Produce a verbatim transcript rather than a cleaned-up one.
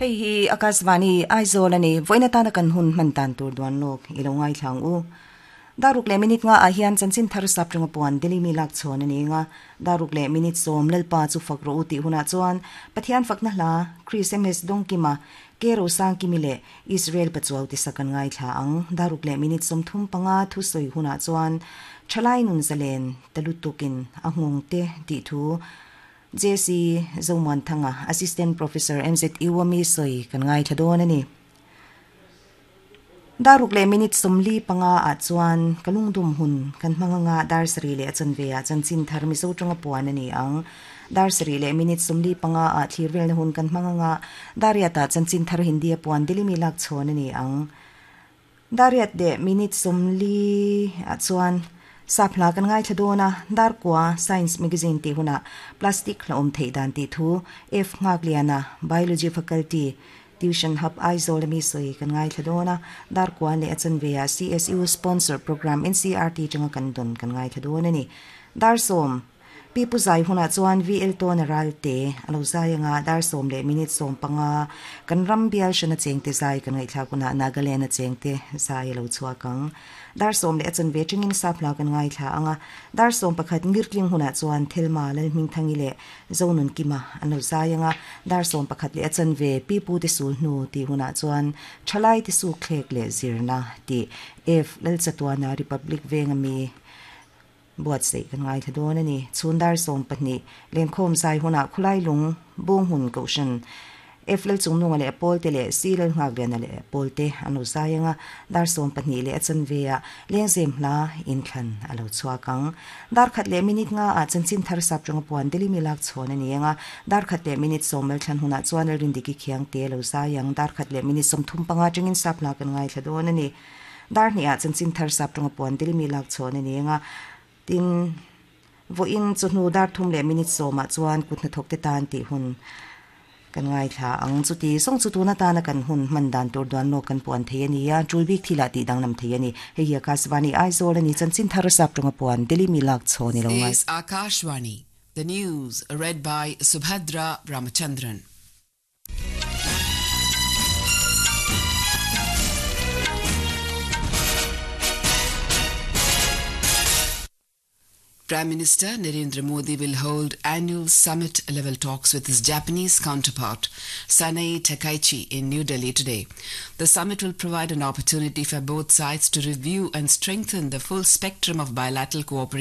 Hei hi Akashvani Aizawl ani voina tana kan hun man tan tur duan lok ilo ngai thlang u daruk le minute nga a hian chanchin thar sap tanga puan deli mi lak chon ani nga daruk le minute som lalpa chu fakro ti huna chuan pathian fakna hla Chris MS dongkima kero sang kimile Israel pachuaw ti sakan ngai thla ang daruk le minute som thum panga thu soi huna chuan thalai nun zalen talutukin ahung te ti thu JC Zoman Thanga Assistant Professor MZ Iwami soi kan ngai thadon ani daruk le minute somli panga a chuan kalungdum hun kan hmanga nga dar sri le achan ve a chanchin thar mi zo tanga puan ani ang dar sri le minute somli panga a thirvel na hun kan hmanga nga daria ta chanchin thar hindi puan dili mi lak chon ani ang dariat de minute somli a chuan sapla kan ngai thadona dar kwa science magazine ti huna plastic la om thei dan ti thu f ngak liana biology faculty tuition hub Aizawl mi soi kan ngai thadona dar kwa le achan veya CSU sponsor program NCRT changa kan don kan ngai thadona ni dar som pi pu zai huna chuan VL to na ral te alo zai nga dar som le minute som panga kan ram bial shana chengte zai kan ngai thla kuna Nagaland na chengte zai lo chua kang dar som le achan ve chingin sapla kan ngai thla anga dar som pakhat ngirtling huna chuan thelma lal hming thangi le zonun kima ano zai anga dar som pakhat le achan ve pi pu te sul nu ti huna chuan thalai ti su khlek le zirna ti f lal chatwana republic venga mi buat sei kan ngai thadon ani chundar som pahni lenkhom zai huna khulai lung bung hun koshan F lal chung nunga le pol te le C lal ngak le na le pol te anu zayanga dar som pahni le achan veya lengzem hla in thlan alo chuakang dar khat le minute nga a chanchin thar sap chunga puan deli mi lak chon ani anga dar khat le minute som mel thlan huna chuan rin diki khiang te lo zayang dar khat le minute som thum panga chingin sap la kan ngai thladon ani dar ni a chanchin thar sap chunga puan deli mi lak chon ani anga tin vo in chu hnu dar thum le minute soma chuan kutna thok te tan ti hun kan ngai thla ang chu ti song chu tuna ta na kan hun man dan tur duan no kan puan thei ani a chulbik thila ti dang nam thei ani hei hi Akashvani Aizawl ani chanchin thar sap tunga puan deli mi lak choni lo ngai Is Akashvani the news read by Subhadra Ramachandran Prime Minister Narendra Modi will hold annual summit level talks with his Japanese counterpart Sanae Takaichi in New Delhi today. The summit will provide an opportunity for both sides to review and strengthen the full spectrum of bilateral cooperation.